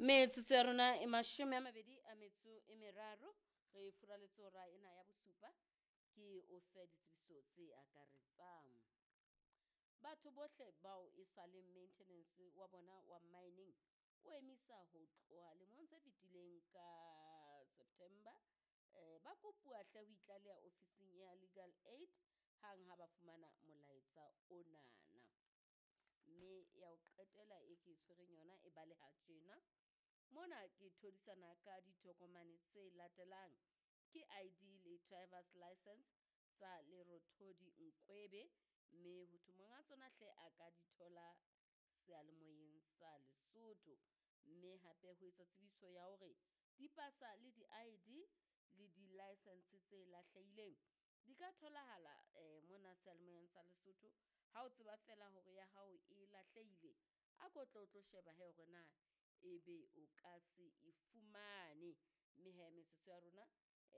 Metsotso ya rona e 23 re furaletse hora ena ya bosupa, ke o fe ditsebiso tse akaretsang. Batho bohle bao e sa leng maintenance wa bona wa mining o emisa ho tloha lemong se fetileng ka September, ba kopuwa hle ho itlaleha ofising ya Legal Aid hang ha ba fumana molaetsa onana. Mme ya ho qetela e ke e tshwereng yona e baleha tjena. Mona ke thodisana ka ditokomane tse latelang, ke ID le driver's license tsa Lerothodi Nkwebe, mme ho thwe monga tsona hle a ka di thola seyalemoyeng sa Lesotho. Mme hape ho etsa tsebiso ya hore dipasa le di-ID le di-license tse lahlehileng di ka tholahala mona seyalemoyeng sa Lesotho. Ha o tseba feela hore ya hao e lahlehile, a ko tle o tlo sheba hee hore na ebe o ka se e fumane. Mme hee metsotso ya rona e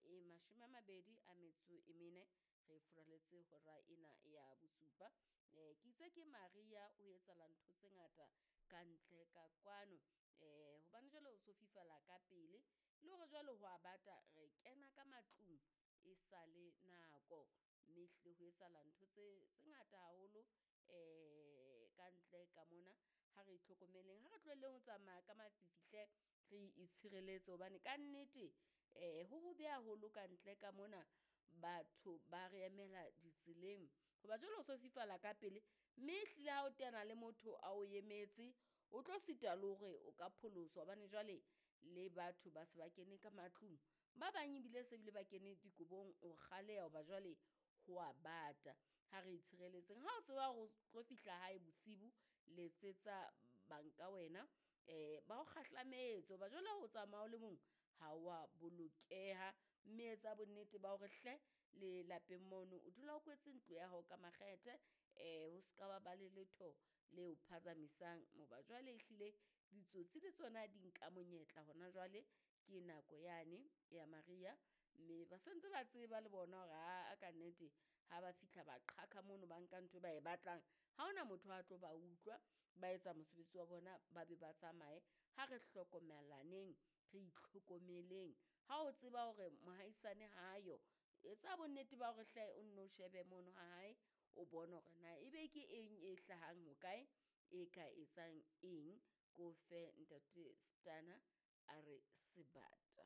24 re furaletse hora ena ya bosupa. Ke itse ke Maria o etsahala ntho tse ngata ka ntle ka kwano, hobane jwale o so fifala ka pele le hore jwale ho a bata re kena ka matlung e sale nako, mme ehlile ho etsahala ntho tse ngata haholo ka ntle ka mona. Ha re itlhokomeleng, ha re tlohelleng ho tsamaya ka mafifi hle, re itshireletse hobane ka nnete ho hobe haholo ka ntle ka mona, batho ba re emela ditseleng. Hoba jwale ho so fifala ka pele, mme ehlile ha o teana le motho a o emetse, o tlo sitwa le hore o ka pholoswa hobane jwale le batho ba se ba kene ka matlung. Ba bang ebile se bile ba kene dikobong ho kgaleha hoba jwale ho a bata. Ha re itshireletseng, ha o tseba hore o tlo fihla hae bosibu, letsetsa banka wena ba o kgahlametse hoba jwale ho tsamaya o le mong ha wa bolokeha. Mme etsa bonnete ba hore hle le lapeng mono o dula o kwetse ntlo ya hao ka makgethe, ho ska ba ba le letho leo phazamisang hoba jwale ehlile ditsotsi le tsona di nka monyetla hona jwale, ke nako yane ya mariha, mme ba sentse ba tseba le bona hore aa ka nnete ha ba fihla ba qhaqha mono, ba nka ntho e ba e batlang. Ha hona motho a tlo ba utlwa, ba etsa mosebetsi wa bona, ba be ba tsamaye. Ha re hlokomelaneng, re itlhokomeleng ha o tseba hore mohaisane hayo, etsa bonnete ba hore hle o nno shebe mono ha hae, o bone hore na ebe ke eng e hlahang hokae, e ka etsang eng. Ko fe ntate Stunner a re sebata.